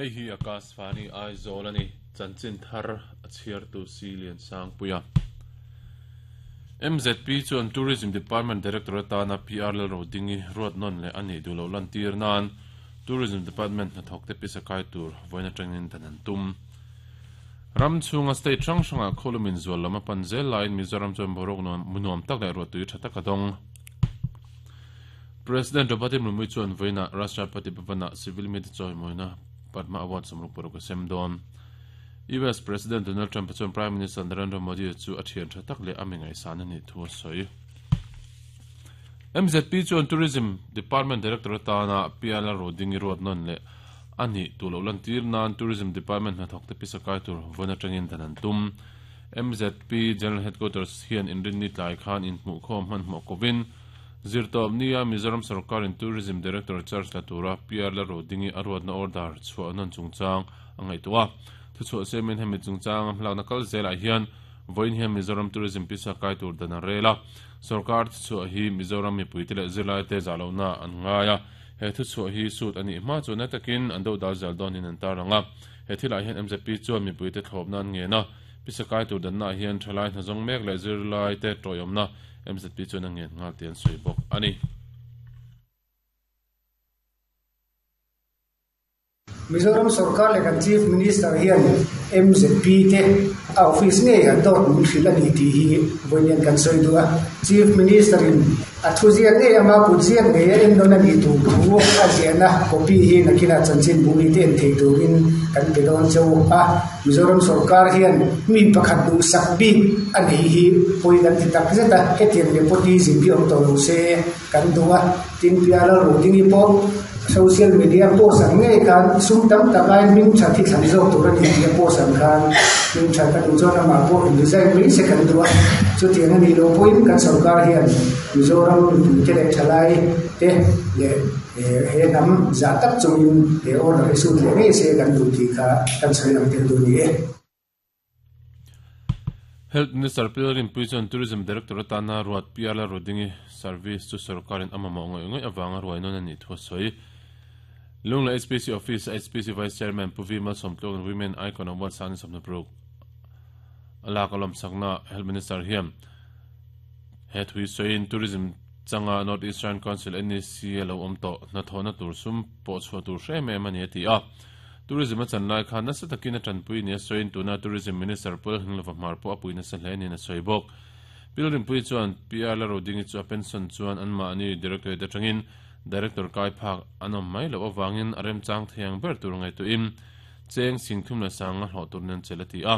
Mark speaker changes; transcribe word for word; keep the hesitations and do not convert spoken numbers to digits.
Speaker 1: Hei hi Akashvani Aizawl ani chanchin thar a chhiartu si lian sang puia. M Z P chuan Tourism Department Director atana P R Lalrodingi ruat nawn leh ani duh loh lantir nan Tourism Department hnathawk te pisa kai tur vawiin atangin dan an tum. Ram chhunga state hrang hrangah khawlumin zual lam a pan zel laiin Mizoram chuan boruak nuam tak leh ruahtui tha tak a dawng. President Draupadi Murmu chuan vawiinah Rashtrapati Bhavan-ah civil media chawimawina Padma Award sawmruk paruk a sem dawn. U S President Donald Trump chuan Prime Minister Narendra Modi chu a thian tha tak leh a mi ngaihsan ani thu a sawi. M Z P chuan Tourism Department Director atana P R Rodingi ruat nawn leh ani duh loh lantir nan Tourism Department hnathawk te pisa kai tur vawiin atangin dan an tum. M Z P General Headquarters hian inrinni tlai khan inhmuh khawm hmanhmawh kovin zirtawp nia Mizoram sarkarin Tourism Director charge la tura P R Lalrodingi a ruatna order chhuah nawn chungchang a ngaihtuah a. Thuchhuah siamin hemi chungchang a hmalakna kal zelah hian vawiin hian Mizoram Tourism pisa kai tur dan a rel a. Sarkar thuchhuah hi Mizoram mipuite leh zirlai te zah lohna an ngai a. He thuchhuah hi sut ani hma chu na takin an do dal zel dawnin an tarlang a. He thilah hian M Z P chuan mipuite thlawpna an ngen a. Pisa kai tur danna hian thalai hnazawng mek leh zirlai te tawiawmna M Z P chuan a ngen nghal te an sawi bawk ani.
Speaker 2: Mizoram sarkar leh kan Chief Minister hian M Z P te a office ngei an dawt min hrilh ani tih hi vawiin kan sawi duh a. Chief Minister in a thu ziak ngei ama kut ziak ngei a en nawn ani tur thu a ziahna copy hi nakina chanchin bu mi te en thei turin kan pe dawn cheu a. Mizoram sarkar hian mi pakhat duh sak bik ani hi pawi kan ti tak zet a. Hetiang nepotism hi awm tawh lo se kan duh a. Tin P R Rodingi pawh social media post ang ngei khan sum tam tak ai hming that hi thlan zawk tur ani tih a post ang khan hming that a duh chuan amah pawh in resign mai se kan duh a. Chutiang ani lo pawhin kan sarkar hian Mizoram mipuite leh thalai te leh he hnam zah tak chungin he order hi sut leh ngei se kan duh tih kha kan sawi lang tel duh ni e.
Speaker 1: Health Minister Lalrinpuii chuan Tourism Director atana ruat P R Rodingi service chu sarkarin a mamawh ngawih ngawih awanga ruai nawn ani thu a sawi. Lunglei H P C Office H P C Vice Chairman Pu V Malsawmtluang Women Icon Award sangni sawmhnih paruk alak alawm sakna Health Minister hian he thui sawiin Tourism changa North Eastern Council N E C lo awm tawh hnathawhna tur sum pawh chhuah tur hre em ani a ti a. Tourism a chan lai khan nasa takin a tanpui ni a sawiin tuna Tourism Minister Pu Lalnghinglova Hmar pawh a pui nasa hle niin a sawi bawk. Lalrinpuii chuan P R Rodingi chu a pension chuan anmahni directorate atangin director kai phak an awm mai loh awangin a remchang thiang ber tur ngaihtuahin cheng sing thum leh sanga hlawh tur nen chel a ti a.